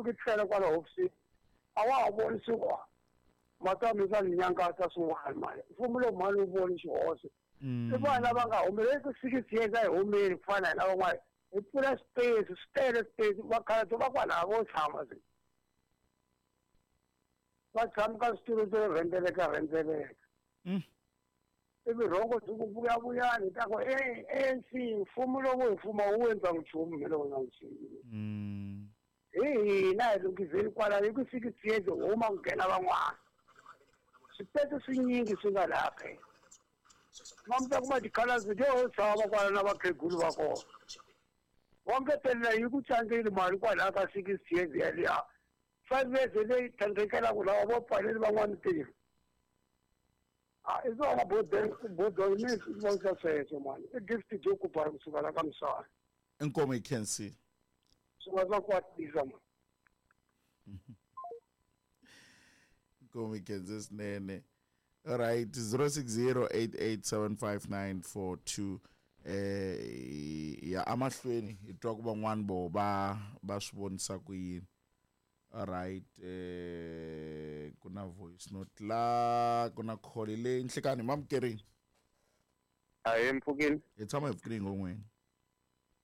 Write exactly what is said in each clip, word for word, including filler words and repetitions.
fikisela kwala hofisini a wa ha voni swiwa matamisa ni nyangatsa swin'wana mali mfumo lowu mali wu voni xihoxo i vanhu lava nga humeleli ku six years a hi humeli ku fana hi lava van'wana hi pfula space swi tele space vakhalabye va kwalaha vo tshama se va tshama ka switulu swo rhendzeleka rhendzeleka ivi rhongo byi ku vuyavuyani ta ku A N C mfumo lowu hi fuma wu endla nchumu mi lowu na nchumu hi hina hi lunghizeni kwala hi ku six years huma ku nghena van'wana swipete swinyingi swi nga laha phela mamta kuma tikhalasi to tshama kwala na vakhegulu va kona va ngetelela yi ku tlangeli mali kwalaha ka six years yaliya five years leyi tlhandlekelaka lava vo pfaleli van'wana ntirho a i swona bodoni mi swi vonisa sweswo mani i gift byo kubara kusuka la ka misava inkomo yi khensile swi nga swa kwatisa mani inkomo yi khense swinene. All right, zero six zero eight eight seven five nine four two eh ya amahlweni hi twa ku van'wana vo va va swi vonisa ku yini. All right, eh ku na voice note la ku na call leyi nhlikani mamukerini. A hi mpfukini hi tshama hi pfukini ngomweni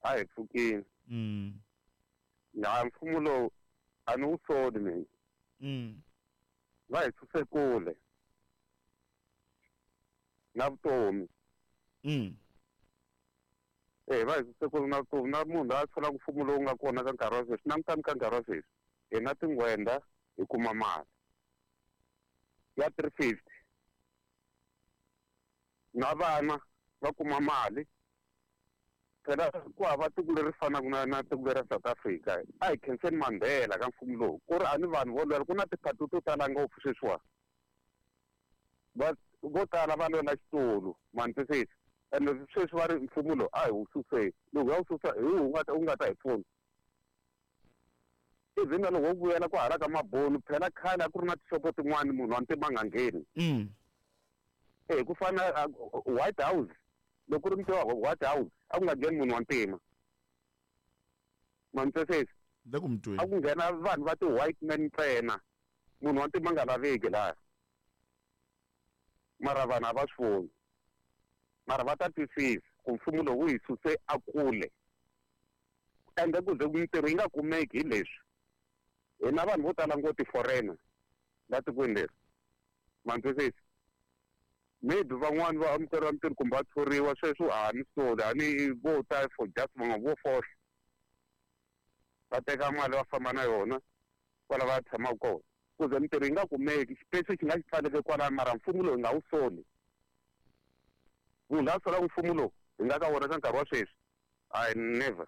a hi pfukini mm na mfumo lowu a ni wu soli mina mm va hi suse kule na vutomi mm eh va hi suse kule na vutomi na munhu loyi a solaka mfumo lowu nga kona ka nkarhi wa sweswi langutani ka nkarhi wa sweswi hi na tinghwenda hi kuma mali ya three fifty na vana va kuma mali phela ku hava tiko leri fanaka na na tiko leri ra South Africa a hi khenseni Mandela ka mfumo lowu ku ri a ni vanhu vo lwela ku na tiphati to tala ngopfu sweswiwa va vo tala va lwela xitulu mani twisisa ende sweswi va ri mfumo lowu a hi wu suseni loko ya wu susa hi wu nga ta wu nga ta hi pfuna even na loko wo vuyela ku hala ka mabonu phela khale a ku ri na tixopo tin'wani munhu wa ntima nga ngheni mm eh ku fana White House loko ku ri muti wa White House a ku nga ngheni munhu wa ntima mani twisisa le ku mutweni a ku nghena vanhu va ti-white man ntsena munhu wa ntima nga laveki laha mara vanhu a va swi voni mara va ta twisisa ku mfumo lowu wu hi suse a kule ende ku ze mintirho yi nga kumeki hi leswi hina vanhu vo tala ngo ti-foreigner la tikweni leri mani twisisa maybe van'wani va amukeriwa mintirho kumbe va thoriwa sweswo a ni soli a ni vo ta for just van'we vo fohla va teka mali va famba na yona kwala va tshamaka kona ku ze mintirho yi nga kumeki xipesi xi nga xi pfaleke kwalano mara mfumo lowu hi nga wu soli munhu loyi a solaka mfumo lowu hi nga ka wona ka nkarhi wa sweswi I never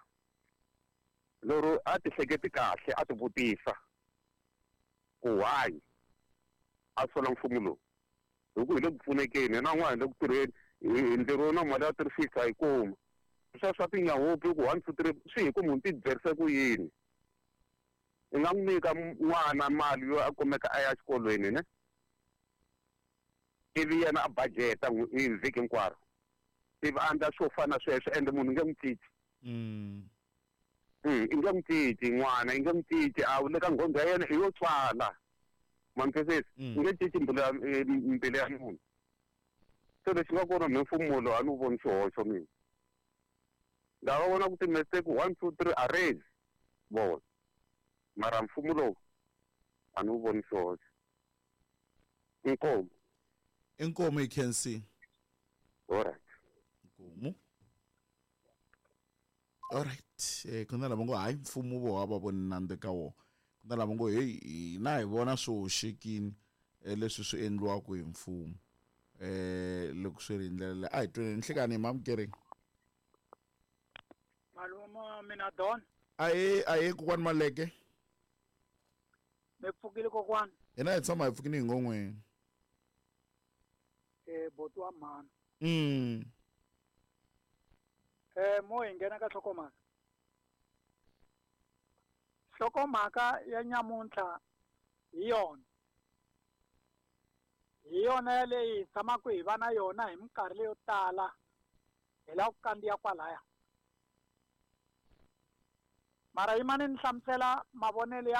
lero a ti hleketi kahle a ti vutisa ku why a sola mfumo lowu hi ku hi le ku pfunekeni hina n'wana hi le ku tirheni hi ntirho na mali ya three fifty a yi kuma sweswo swa tinyahupi ku one two three swi hi ku munhu ti byerise ku yini i nga n'wi nyika n'wana mali yo a kumeka a ya xikolweni ne ivi yena a budgeta hi vhiki hinkwaro ivi a endla swo fana sweswo ende munhu nge n'wi cinci mm i nge n'wi cinci n'wana i nge n'wi cinci a wu le ka nghondho ya yena i yo tswala mani twisisa i nge cinci mbilu ya mbilu ya munhu se lexi nga kona mi mfumo lowu a ni wu voni xihoxo mina nga va vona ku ti-mistake one two three arrange vona mara mfumo lowu a ni wu voni xihoxo inkomu inkomu yi khensile alright inkomu alright eh ku na lava ngo hayi mfumo vo hava voni nandzu ka wona ku na lava ngo hey hina hi vona swi hoxekini leswi swi endliwaka hi mfumo eh loko swi ri hi ndlela leyi a hi tweni nhlikani hi mamukerini malume mina Don ahe ahe kokwani Maleke mi pfukile kokwani hina hi tshama hi pfukini hi ngon'weni eh boti wa mhani mm eh mo hi nghena ka nhlokomhaka nhlokomhaka ya nyamuntlha hi yona hi yona yaleyi hi tshamaka hi va na yona hi minkarhi leyo tala hi lava ku kandziya kwalaya mara yimani ni hlamusela mavonelo ya